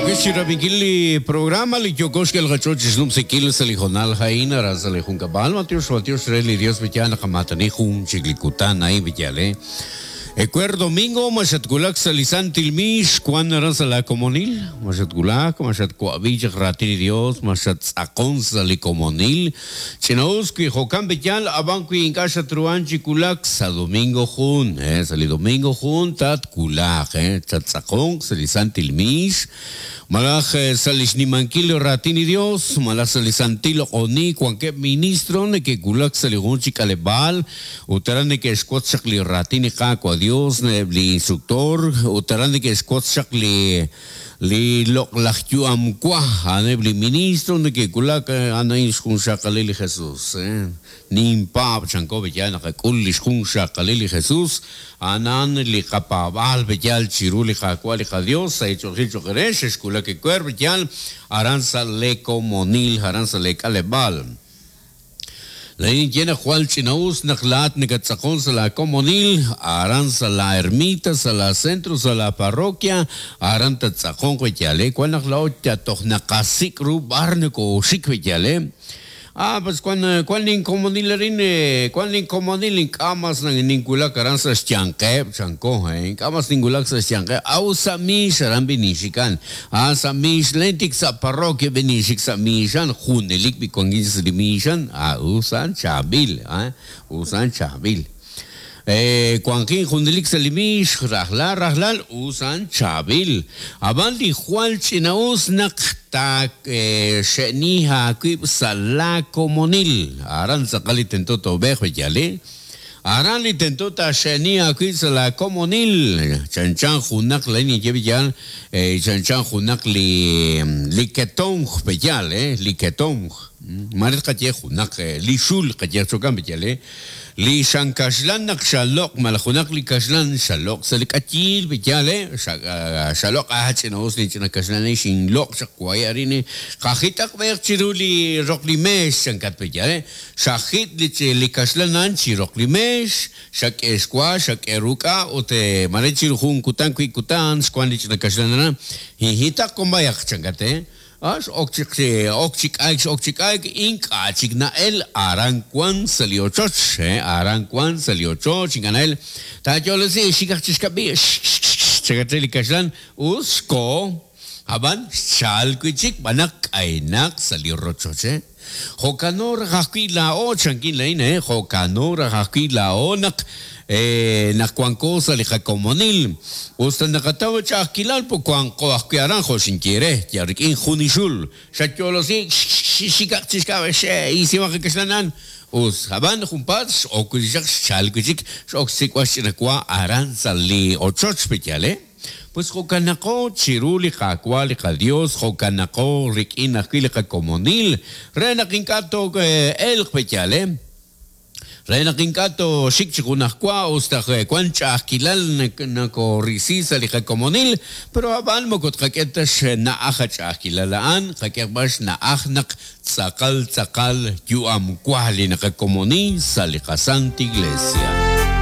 Yookex chi rab'inkil li programa li yooko xk'el qach'ool chi xnumsinkil sa' li hoonal a'in aran sa' li junkab'al. Matiox, matiox re li Dios b'iyal naqamaatani jun chik li kutan a'in b'iyal, eh. Ewer domingo ma xatwulak sa' li santil miix wan aran sa' laa komonil? Ma xatwulak, ma xatwa'b'i chaq raatin li Dios, ma xattz'aqon sa' li komonil? Ch'ina-us wi jo'kan b'iyal, ab'an wi ink'a' xatruhan chi wulak sa' domingo jun, eh, sa' li domingo jun tatwulaq, eh, chattz'aqonq sa' li santil miix, Malaj sa' li xnimankil raatin li Dios, malaj sa' li santil loq'oniik wankeb' ministro neke'wulak sa' li jun chi k'aleb'aal ut aran neke'xwotz chaq li raatin li Qaawa' Dios, eb' li instruktor, ut aran neke'xwotz chaq li li loq'laj yu'am wa, a'aneb' li ministro neke'wulak, a'an a'in xjunxaqalil li Jesus. Ninpaab', chanko, b'eyal naqak'ul li xjunxaqalil li Jesus, a'an a'an li qapaab'aal b'eyal chiru li Qaawa' li qaDios, sa' eech'oolejil cho'q eere, xexwulak ewer b'eyal aran sa' lee komonil, aran sa' lee k'aleb'aal. Laa'in ninye naq jwal ch'ina'us naq laa'at nakattz'aqon sa' laa komonil, aran sa' laa ermita, sa' laa centro, sa' laa parroquia, aran tattz'aqonq b'eyal, wan naq laa'o toj naqasik' ru b'ar nokooxik b'eyal. Ah, pues wan, wan linkomonil arin, wan linkomonil ink'a' mas ninwulak aran sa' xyanqeb', chanko, ink'a' mas ninwulak sa' xyanqeb', aw sa' miix aran b'i ninxikan, ah, sa' miix len tik sa' parroquia b'i ninxik sa' miixan, junelik b'i wankin sa' li miixan, ah, us a'an chaab'il, ah, us a'an chaab'il. Wanqin junelik sa' li miix, rajlal rajlal us a'an chaab'il. Ab'an li jwal ch'ina'us naq taaxe'ni aawib' sa' laa komonil. Aran tz'aqal li tento toob'eeq, b'eyal. Aran li tento taaxe'ni aawib' sa' laa komonil. Chanchan junaq, laa'in ninye b'eyal, chanchan junaq li li ketomq, b'eyal, li ketomq. Maare tqaye junaq li xul, qaye jo'kan, b'eyal. Li xan kaxlan naq xaloq' malaj junaq li kaxlan xaloq' sa' li k'ayiil, yaal e, xaloq' ah ch'ina'us linch'ina kaxlan a'in xinloq' chaq wahi' arin e, qajit'aq b'eeq chiru li roq li meex chankat pe yaal e, xajit' li li kaxlan a'an chi roq li meex, xak'e xwa, xak'e ruk'a' ut mare chiru jun kutan wiib' kutan xwank li ch'ina kaxlan aran, hinhit'aq kon b'ayaq chankat e. A X'ok chik ok chi k'ayk x'ok chi k'ayk, ink'a' chik na'el aran wan sa' li ochoch, he, aran wan sa' li ochoch, ink'a' na'el. Taayolesi xikaq chi xkab'i, xxxxx, chakat re li kaxlan, us xkoho, ab'an xchalk wi' chik b'an naq k'aynaq sa' li rochoch, he. Jo'kano raj ajwi' laa'o, chankin laa'in, he, jo'kano raj ajwi' laa'o naq, naq wanko sa' li qakomonil. Us ta naqataw ch'a'ajkilal, po wanqo ajwi' aran, jo' xinye eere, yal rik'in jun li xul. Xatyo'losi, xikaq chi xk'ab'a', xe'isimaq li kaxlan a'an. Us, ab'an junpaat x'ok wi' chaq, xchalk wi' chik, x'ok xsik'b'al xch'ina wa aran sa' li ochoch, pe'yaal, he? Pues jo'kanaqo chiru li Qaawa' li qaYos, jo'kanaqo rik'in ajwi' li qakomonil, re naq ink'a' too'elq pe'yaal, e? Re naq ink'a' tooxik chi junajwa us ta wank ch'a'ajkilal nokoorisi sa' li qakomonil, pero ab'an moko tqak'e ta xna'aj a ch'a'ajkilal a'an, qak'ehaq b'an xna'aj naq tz'aqal tz'aqal yu'am wa li naqakomoni sa' li qaSanta Iglesia.